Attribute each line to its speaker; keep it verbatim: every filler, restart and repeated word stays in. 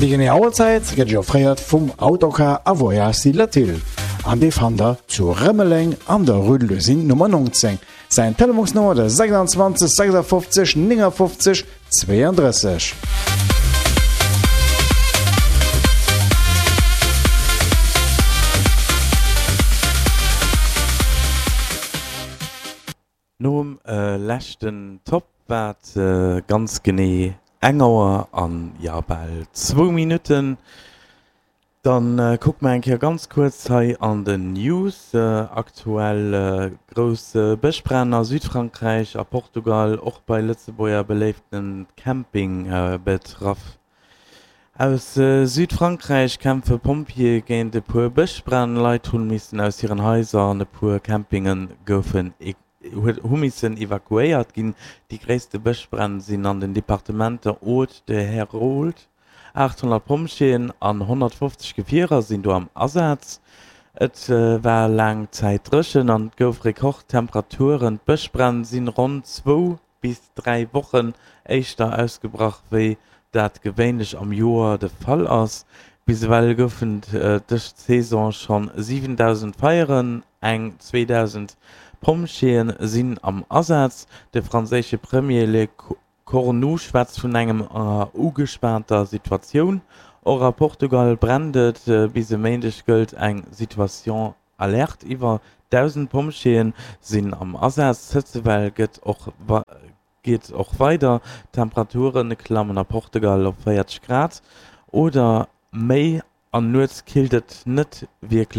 Speaker 1: Déi genee Auerzäit gëtt Iech offréiert vum Autocar a Voyage Latil an dee fannt der zu Rëmeleng an der Rue de l'Usine Nummer neunzéng. Säin Telefonsnummer de sechsundzwanzeg sechsundfünfzig neunundfünfzig zweiunddrësseg.
Speaker 2: Nom leschten Top war et ganz genee eng Auer an, jo, bal zwou Minutten. Dann kucke mer eng Kéier ganz kuerz hei an den News. Aktuell grouss Bëschbränn a Südfrankräich a Portugal, och bei Lëtzebuerger beléiften Camping betraff. Aus Südfrankräich kämpfe Pompjeeë géint e puer Bëschbränn. Leit hu missen aus hiren Haiser an e puer Campinge goufen hu missen evakuéiert ginn. Déi gréisste Bëschbränn sinn an den Departementer Aude de Hérault. achthonnert Pompjeeën an honnertfofzeg Gefierer sinn do am Asaz. Et war laang Zäit dréchen an et gouf Rekordtemperaturen. D'Bëschbränn sinn ronn zwou bis dräi Wochen éischter ausgebrach, wéi dat gewéinlech am Joer de Fall ass. Bis ewell goufen dës Saison schonn siwendausend Feieren, eng zweedausend Pompjeeë sinn am Asaz. De franséische Premier Lecornu schwätzt vun enger ugespaanter Situatioun. Och a Portugal brennt et. Bis e Méindeg gëllt eng Situation alerte. Iwwer dausend Pompjeeë sinn am Asaz. D'Hëtzewell gëtt och geet och weider. D'Temperature klammen a Portugal op véierzeg Grad oder méi an nuets killt et net wierklech.